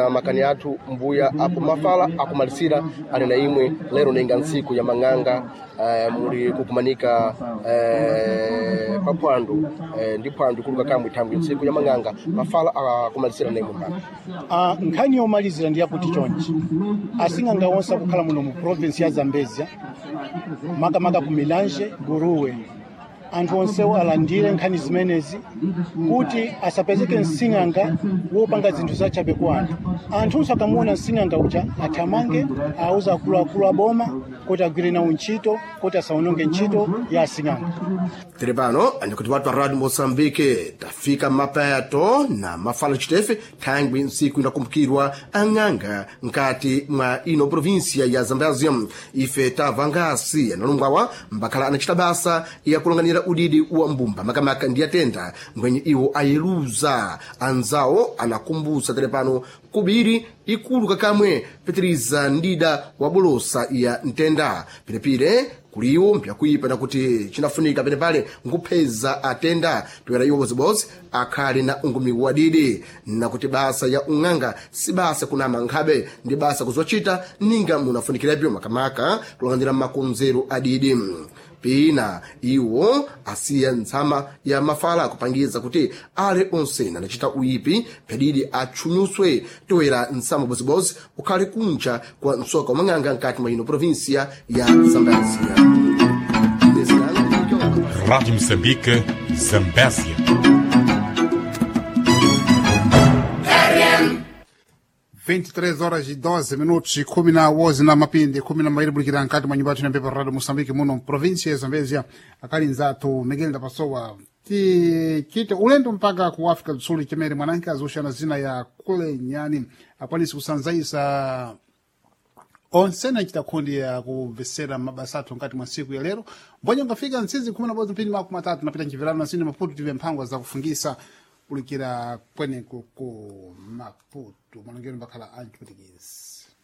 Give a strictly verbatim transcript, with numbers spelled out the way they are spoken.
Na makani athu mbuya apo mafala akumalisira ali na imwe lero ninga ntsiku ya mang'anga eh, muli kukumanika eh, pa phwando eh, ndi phwando ikuluka kamwe thangwi ntsiku ya mang'anga mafala akumalisira na imwe mpano. Ah, nkhani yomalizira ndi yakuti chonchi asing'anga onse akukhala muno mu province ya Zambezia, makamaka ku Milange, Guruwe, anthu onsewo alandire nkhani zimenezi kuti asapezeke msing'anga wopanga zinthu zachabe kwa anthu. Anthunso akamuona msing'anga uja athamange auza akuluakulu aboma kuti agwire nawo ntchito kuti asaononge ntchito ya asing'anga. Tiri pano andikuti watu wa Radio Moçambique tafika mapeto na mafala chitefe thangwi ntsiku inakumbukirwa ang'anga nkati mwa ino província ya Zambézia. Ife tamva ngasi analungwawa mbakhala anachita basa yakulonganira udidi wa mbumba makamaka ndi atenda ngwenye iwo ayeluza anzawo anakumbusa tere pano kubiri ikulu kakamwe pitiriza ndida wa bolosa ya ntenda pirepire kuliwo mpyakuipa nakuti chinafunika penepale nkupheza atenda toera iwo bozibozi akhale na ungumi wadidi nakuti basa ya ung'anga si basa kunama nkhabe ndi basa kuzochita ninga munafunikirapyo makamaka kulangandira makonzero adidi. Pina iwo asiya ntsama ya mafala kupangiza kuti ale onse anachita uyipi phedidi atchunyuswe toera ntsama bozibozi ukhale kunja kwa msoka wa mang'anga nkati mwa ino província ya Zambézia. Rádio Moçambique, Zambésia. vinte e três horas e doze minutos e kumi na wozi na mapindi kumi na mairi bulikira nkati mwa nyumba yathu ya Radio Moçambique muno província ya Zambezia. Akali nzathu Miguel Ndapasowa tichite ulendo mpaka ku Africa do Sul chimene mwananke azuxana zina ya kule nyani akwanisi kusanzaisa onse nachita khundi ya kumvesera mabasa athu nkati mwa siku ya lero mbonye ungafika ntsizi khumi na bodzi mphindi makumi atatu napita nchivirano nasini Maputo tive mphangwa zakufungisa kulikira kweneko ku Maputo malongero mbakhala anthu Portuguese.